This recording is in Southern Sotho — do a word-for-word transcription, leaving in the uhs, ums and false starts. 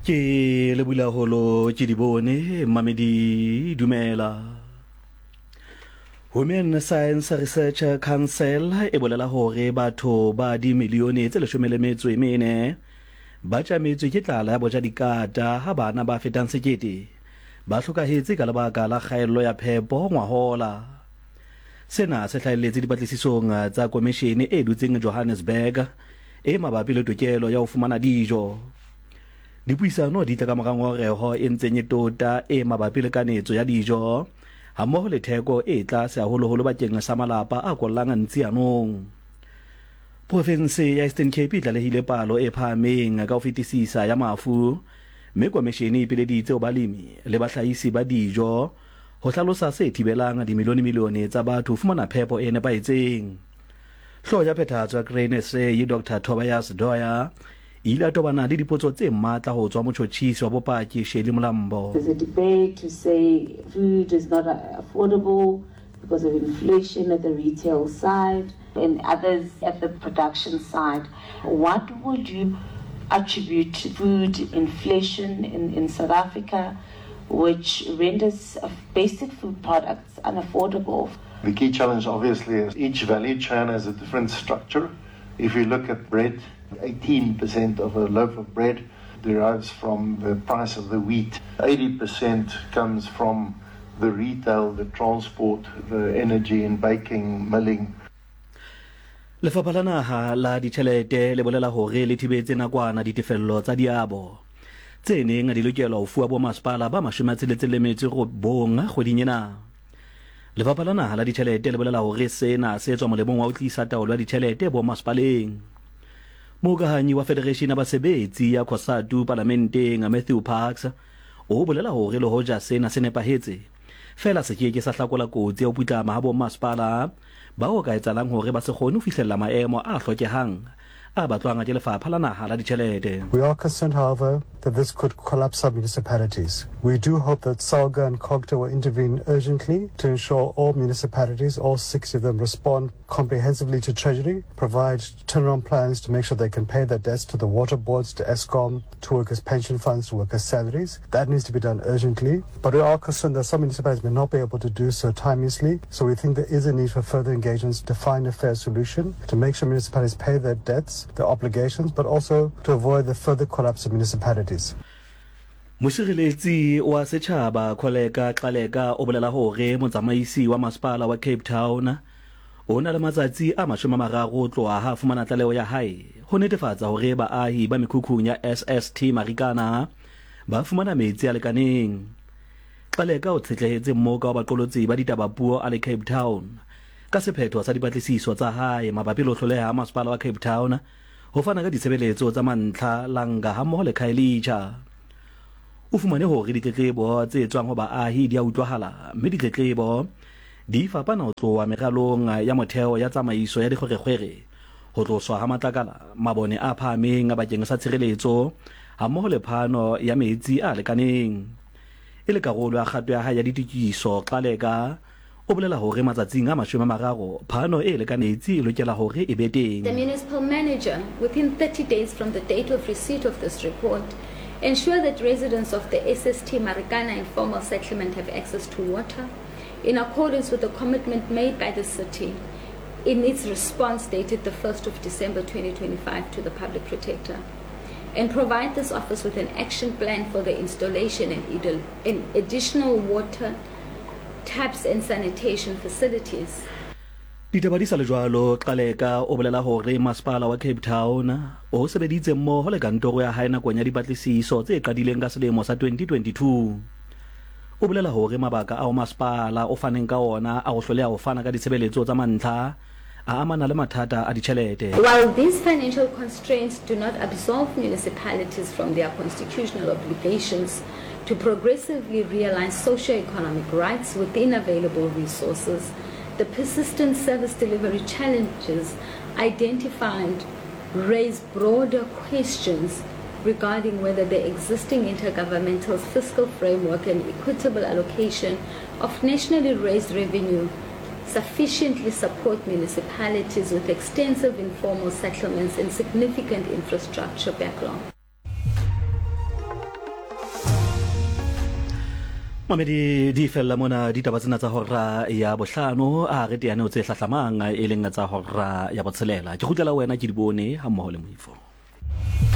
Ke le bula holo ke di bone mamedi dumela. Women Science Research Council e bolela hore batho ba dimilione tse leshome le metso e mene ba tjametswe ke tlala ya boja dikata ha bana ba fetang sekete ba hlokahetse ka lebaka la kgaello ya phepo ngwahola. Sena se hlahelletse dipatlisisong tsa komishene e dutseng Johannesburg e mabapi le tokelo ya ho fumana dijo. Dipuisano di tla ka mora ngongoreho e ntseng e tota e mabapi le kanetso ya dijo hammoho le theko e tlase haholoholo bakeng sa malapa a kollang ntsianong. Provinse ya Eastern Cape e tlalehile palo e phahameng ka ho fetisisa ya mafu, mme komishene e ipileditse ho balemi le bahlahisi ba dijo ho hlalosa se thibelang dimilione-milione tsa batho ho fumana phepo e nepahetseng. Hlooho ya phethahatso ya Grain S A Doctor Tobias Doyer e ile a tobana le dipotso tse matla ho tswa motjhotjhisi wa bopaki Shirley Mlambo. There's a debate to say food is not affordable because of inflation at the retail side and others at the production side. What would you attribute food inflation in, in South Africa, which renders basic food products unaffordable? The key challenge obviously is each value chain has a different structure. If you look at bread, eighteen percent of a loaf of bread derives from the price of the wheat. eighty percent comes from the retail, the transport, the energy in baking, milling. Lefapha la Naha la Ditjhelete le bolela hore le thibetse nakwana ditefello tsa diabo tse neng di lokelwa ho fuwa bomasepala ba mashome a tsheletseng le metso e robong kgweding ena. Lefapha la Naha la Ditjhelete le bolela hore sena se tswa molemong wa ho tlisa taolo ya ditjhelete bomasepaleng. Mohokahanyi wa Federation ya Basebetsi ya COSATU palamenteng Matthew Parks o bolela hore le hoja sena se nepahetse, fela se ke ke sa hlakola kotsi ya ho putlama ha bomasepala bao ka etsalang hore ba se kgone ho fihlella maemo a hlokehang a batlwang ke Lefapha la Naha la Ditjhelete. We are concerned, however, that this could collapse some municipalities. We do hope that SALGA and COGTA will intervene urgently to ensure all municipalities, all sixty of them, respond comprehensively to Treasury, provide turnaround plans to make sure they can pay their debts to the water boards, to Eskom, to workers' pension funds, to workers' salaries. That needs to be done urgently. But we are concerned that some municipalities may not be able to do so timeously, so we think there is a need for further engagements to find a fair solution, to make sure municipalities pay their debts, their obligations, but also to avoid the further collapse of municipalities. Mosireletsi wa setjhaba Kholeka Gcaleka o bolela hore motsamaisi wa masepala wa Cape Town o na le matsatsi a mashome a mararo ho tloha ha fumana tlaleho ya hae ho netefatsa hore baahi ba mekhukhung ya S S T Marikana ba fumana metsi a lekaneng. Gcaleka o tshetlehetse mmoka wa baqolotsi ba ditaba puo a le Cape Town ka sephetho sa dipatlisiso tsa hae mabapi le ho hloleha ha masepala wa Cape Town ho fana ka ditshebeletso tsa mantlha Langa hammoho le Khayelitsha. O fumane hore ditletlebo tse tswang ho baahi di a utlwahala, mme ditletlebo di fapana ho tloha meralong ya motheo ya tsamaiso ya dikgwerekgwere, ho tloswa ha matlakala, mabone a phahameng bakeng sa tshireletso hammoho le phano ya metsi a lekaneng. E le karolo ya kgato ya hae ya ditokiso, Gcaleka o bolela hore matsatsing a mashome a mararo phano e lekanetsi e lokela hore e be teng. The municipal manager, within thirty days from the date of receipt of this report, ensure that residents of the S S T Marikana informal settlement have access to water in accordance with the commitment made by the city in its response dated the first of December twenty twenty-five to the Public Protector, and provide this office with an action plan for the installation and, and additional water taps and sanitation facilities. Ditaba di sa le jwalo, Gcaleka o bolela hore masepala wa Cape Town o sebeditse mmoho le kantoro ya hae nakong ya dipatlisiso tse qadileng ka selemo sa twenty twenty-two. O bolela hore mabaka ao masepala o faneng ka ona a ho hloleha ho fana ka ditshebeletso tsa mantlha a amana le mathata a ditjhelete. While these financial constraints do not absolve municipalities from their constitutional obligations to progressively realize socio-economic rights within available resources, the persistent service delivery challenges identified raise broader questions regarding whether the existing intergovernmental fiscal framework and equitable allocation of nationally raised revenue sufficiently support municipalities with extensive informal settlements and significant infrastructure backlog. Mamedi, di fella mona ditaba tsena tsa hora ya bohlano. A re teane ho tse hlahlamang, e leng tsa hora ya botshelela. Ke kgutlela wena ke di bone ha mmoho le Moifo.